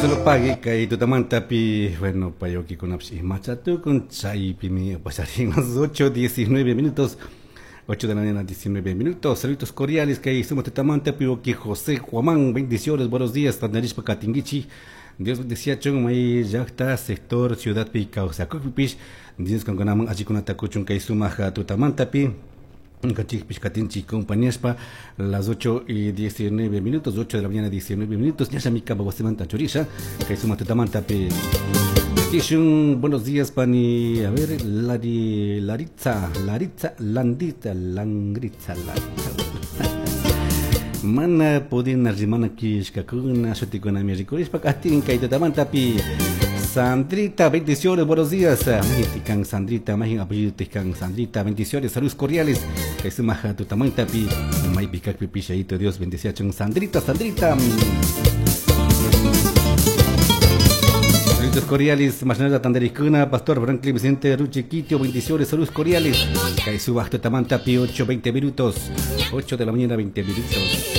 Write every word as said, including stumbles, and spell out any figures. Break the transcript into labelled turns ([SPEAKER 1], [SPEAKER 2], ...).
[SPEAKER 1] Dios lo pague kay tutamantapi, bueno, payokikunapish imachatukun chaypimi pasarin las ocho diecinueve minutos. ocho de la mañana, diecinueve minutos. Saludos cordiales que somos tutamantapi, oki José Juamán, bendiciones, buenos días, tandarishpa katinguichi. Dios bendecía chun may llaqta sector ciudad pi kawsakukpipish. Dios kankunaman allikunata kuchun kay sumaq tutamantapi. Kachikpish katinchik compañaspa las ocho y diecinueve minutos, ocho de la mañana, diecinueve minutos. Ñashami kamba wasimanta churisha kay sumaq tutamantapi. Kishun, buenos días, pani. A ver, Lari, Laritza, Laritza, Landita, Langritza, Laritza. Mana pudina rimana kishkakuna, shutikunami rikurishpa katin kay tutamantapi. Sandrita, bendiciones, buenos días. Majin Sandrita, majin apellido tikan Sandrita, bendiciones, saludos cordiales. Kay sumaja tutamantapi, maypi kakpi pishaito, Dios bendice a Sandrita, Sandrita. Saludos cordiales, Masnada Tandericuna, Pastor Franklin Vicente Ruchiquitio, bendiciones, saludos cordiales. Kay subaja tutamantapi, ocho veinte minutos, ocho de la mañana, veinte minutos.